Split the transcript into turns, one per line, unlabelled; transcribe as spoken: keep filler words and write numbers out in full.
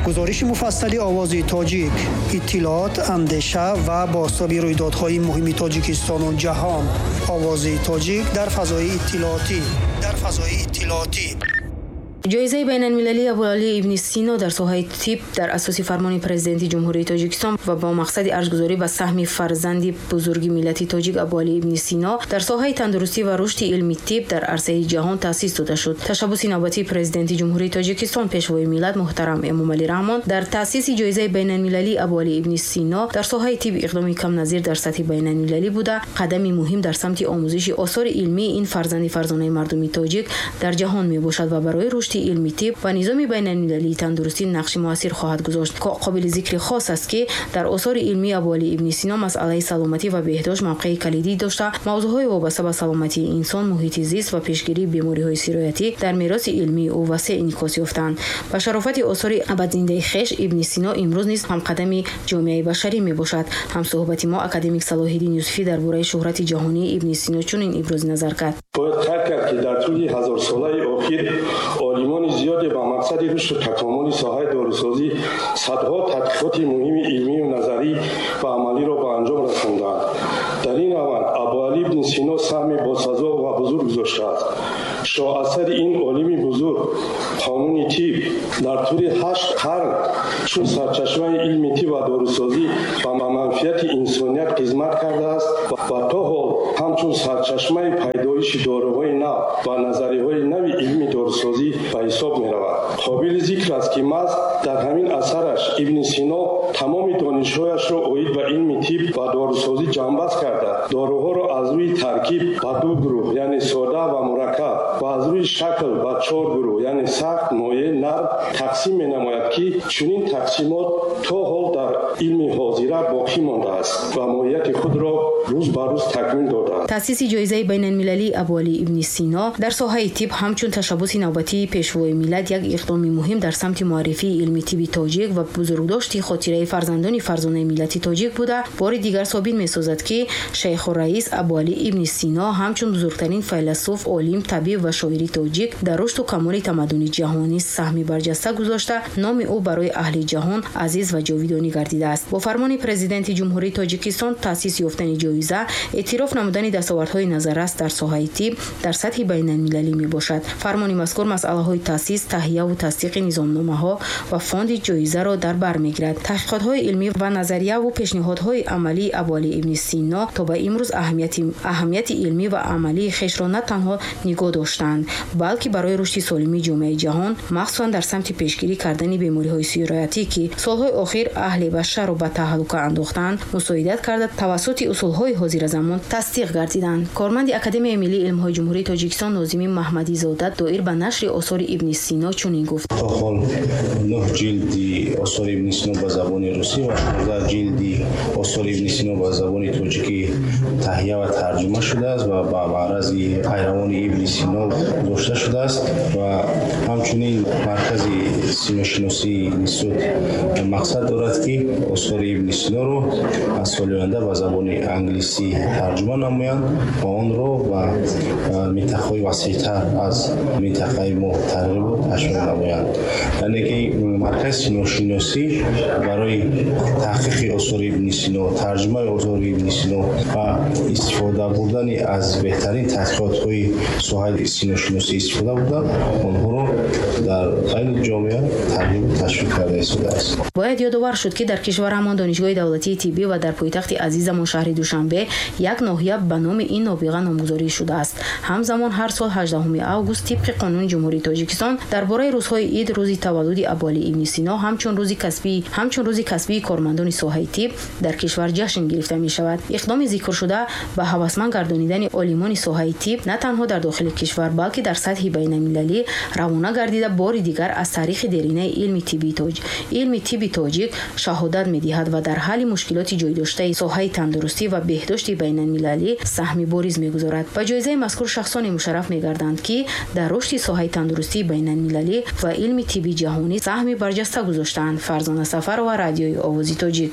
Гузориши муфассали Овози Тоҷик, иттилоот, андеша ва бозтоби рӯйдодҳои муҳими Тоҷикистону ҷаҳон. Овози Тоҷик дар фазои иттилоотӣ. Дар фазои иттилоотӣ.
Ҷоизаи байналмилалии Абуалӣ ибни Сино дар соҳаи тиб дар асоси фармони Президенти Ҷумҳурии Тоҷикистон ва бо мақсади арҷгузорӣ ба саҳми фарзанди бузурги миллати тоҷик Абуалӣ ибни Сино дар соҳаи тандурустӣ ва рушди илми тиб дар арсаи ҷаҳон таъсис дода шуд. Ташаббуси навбатии Президенти Ҷумҳурии Тоҷикистон, Пешвои миллат муҳтарам Эмомалӣ Раҳмон дар таъсиси ҷоизаи байналмилалии Абуалӣ ибни Сино дар соҳаи тиб иқдоми камназир дар сатҳи байналмилалӣ буда, қадами муҳим дар самти омӯзиши осори илмии ин фарзанди фарзонаи мардуми тоҷик дар ҷаҳон мебошад ва барои рушди илми тиб ва низоми байналмилалии тандурустӣ нақши муассир хоҳад гузошт. Қобили зикри хос аст, ки дар осори илмии Абуалӣ ибни Сино масъалаи саломатӣ ва беҳдошт мавқеи калидӣ дошта, мавзӯъҳои вобаста ба саломатии инсон, муҳити зист ва пешгирии бемориҳои сироятӣ дар мероси илмии ӯ васеъ инъикос ёфтанд. Ба шарофати осори абадзиндаи хеш Ибни Сино имрӯз низ ҳамқадами ҷомеаи башарӣ мебошад. Ҳамсӯҳбати мо академик Салоҳиддин Юсуфӣ дар бораи шӯҳрати ҷаҳонии Ибни Сино чунин ибрози назар кард.
Бояд қайд кард, ки дар тӯли ҳазорсолаи охир олимони зиёде ба мақсади рушду такомули соҳаи дорусозӣ садҳо тадқиқоти муҳими илмию назарӣ ва амалиро ба анҷом расонданд. Дар ин раванд Абуалӣ ибни Сино саҳми босазо ва бузург гузоштааст. Шоҳасари ин олими бузург, Қонуни тиб, дар тӯли ҳашт қарн чун сарчашмаи илми тиб ва дорусозӣ ба манфиати инсоният хизмат кардааст ва то ҳол ҳамчун сарчашмаи пайдоиши доруҳои нав ва назариҳои нави илми дорусозӣ ба ҳисоб меравад. Қобили зикр аст, ки маҳз дар ҳамин асараш Ибни Сино тамоми донишҳояшро оид ба илми тиб ва дорусозӣ ҷамъбаст карда, доруҳоро аз рӯи таркиб ба ду гурӯҳ, яъне сода ва мураккаб, ва аз рӯи шакл ба чор гурӯҳ, яъне сахт, моеъ, нарм тақсим менамояд, ки чунин тақсимот то ҳол дар илми ҳозира боқӣ мондааст ва моҳияти худро рӯз ба рӯз такмил додааст.
Таъсиси ҷоизаи байналмилалии Абуалӣ ибни Сино дар соҳаи тиб ҳамчун ташаббуси навбатии Пешвои миллат як иқдоми муҳим дар самти муаррифии илми тиби тоҷик ва бузургдошти хотираи фарзандони фарзонаи миллати тоҷик буда, бори дигар собит месозад, ки Шайхураис Абуалӣ ибни Сино ҳамчун бузургтарин файласуф, олим, табиб ва шоири тоҷик дар рушду камоли тамаддуни ҷаҳонӣ саҳми барҷаста гузошта, номи ӯ барои аҳли ҷаҳон азиз ва ҷовидонӣ гардидааст. Бо фармони Президенти Ҷумҳурии Тоҷикистон таъсис ёфтани ҷоиза эътироф намудани дастовардҳои назаррас дар соҳаи тиб дар сатҳи байналмилалӣ мебошад. Фармони мазкур масъалаҳои таъсис, таҳияву тасдиқи низомномаҳо ва фонди ҷоизаро дар бар мегирад. Таҳқиқотҳои илмӣ ва назарияву пешниҳодҳои амалии Абуалӣ ибни Сино то ба имрӯз аҳамияти, аҳамияти илмӣ ва амалии хешро на танҳо нигоҳ доштанд, балки барои рушди солимии ҷомеаи ҷаҳон, махсусан дар самти пешгирӣ кардани бемориҳои сироятӣ, ки солҳои охир аҳли башарро ба таҳлука андохтанд, мусоидат карда тавассути усулҳои ҳозиразамон тасдиқ гардиданд. Корманди Академияи миллии илмҳои Ҷумҳурии Тоҷикистон Нозими Маҳмадизода доир ба нашри осори Ибни Сино чунин гуфт:
то ҳол нӯҳ ҷилди осори Ибни Сино ба забони русӣ ва шонздаҳ ҷилди осори Ибни Сино ба забони тоҷикӣ таҳия ва тарҷума шудааст ва ба маърази пайравони Ибни Сино гузошта шудааст ва ҳамчунин Маркази синошиносии институт мақсад дорад, ки осори Ибни Синоро аз соли оянда ба забони англисӣ тарҷума намоянд ва онро ба минтақаҳои васеътар аз минтақаи мо тарғибу ташвиқ намоянд. Яъне ки Маркази синошиносӣ барои таҳқиқи осори Ибни Сино, тарҷумаи осори Ибни Сино ва истифода бурдани аз беҳтарин таҳқиқотҳои соҳаи синошиносӣ истифода бурда, онҳоро дар байни ҷомеа тарғибу ташвиқ карда истодааст.
Бояд ёдовар шуд, ки дар кишварамон Донишгоҳи давлатии тиббӣ ва дар пойтахти азизамон шаҳри Душанбе як ноҳия ба номи ин нобиға номгузорӣ шудааст. Ҳамзамон ҳар сол ҳаждаҳуми август тибқи қонуни Ҷумҳурии Тоҷикистон дар бораи рӯзҳои ид рӯзи таваллуди Абуалӣ ибни Сино ҳамчун рӯзи касбӣ ҳамчун рӯзи касбии кормандони соҳаи тиб дар кишвар ҷашн гирифта мешавад. Иқдоми зикршуда ба ҳавасманд гардонидани олимони соҳаи тиб на танҳо дар дохили кишвар, балки дар сатҳи байналмилалӣ равона гардида, бори дигар аз таърихи деринаи илми тибби тоҷ илми тибби тоҷик шаҳодат медиҳад ва дар ҳалли мушкилоти ҷойдоштаи соҳаи тандурустӣ ва беҳдошти байналмилалӣ саҳми бориз мегузорад. Ба ҷоизаи мазкур шахсоне мушарраф мегарданд, ки дар рушди соҳаи тандурустии байналмилалӣ ва илми тибби ҷаҳонӣ саҳми барҷаста гузоштаанд. Фарзона Сафарова, Радиои Овози Тоҷик.